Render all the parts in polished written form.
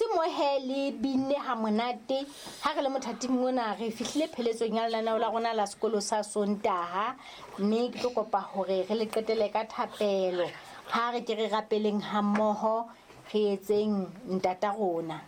Se mohe le binne ha monate ha re le mothating ona re fihlile pheletsong ya lenaneo la rona la sekolo sa Sontaha, mme ke tlo kopa hore re le qetele ka thapelo. Ha re ke re rapeleng hammoho, re etseng Ntata rona.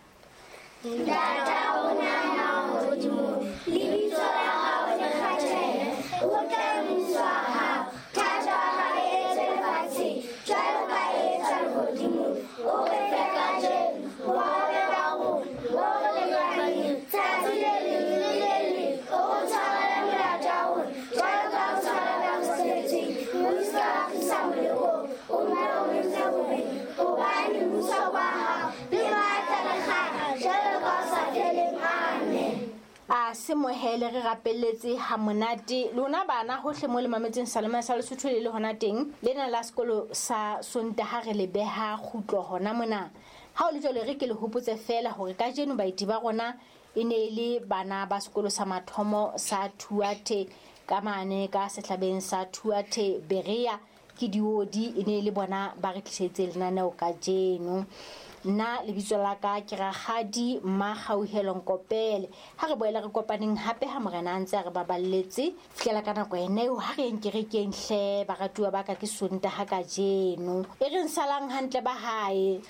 Ntata rona ya mahodimong, lebitso la hao le kgathehe, o tle mmuso wa hao, thato ya hao e etswe lefatsheng jwalo ka e etswa lehodimong. O re fe kajeno bohobe ba rona bo re lekaneng tsatsi le leng le le leng. O re tshwarele melato ya rona jwalo ka o tshwarela ba re sitetsweng. O se ke wa tlisa molekong, o mpe o re ntshe bobeng, hobane mmuso ke wa hao le matla le kganya jwalo ka o sa feleng. Amen. A se mohele re rapelletse ha monate lona bana hohle mo le mametseng Salome sa Lesotho le le hona teng lena la sekolo sa Sontaha re le beha kgutlo hona mona. Ha o le jwalo, re ke le hopotse fela hore kajeno baeti ba rona e ne e le bana ba sekolo sa mathomo sa Thuathe ka mane ka sehlabeng sa Thuathe Berea. Ke diodi e ne e le bona ba re tlisetse lenaneo kajeno. Nna lebitso la ka ke Rakgadi Mmakgauhelo Nkopele. Ha re boele re kopaneng hape ha Morena a ntse a re baballetse. Fihlela ka nako ena eo, ha re yeng kerekeng hle baratuwa ba ka, ke Sontaha kajeno. E reng salang hantle ba hae.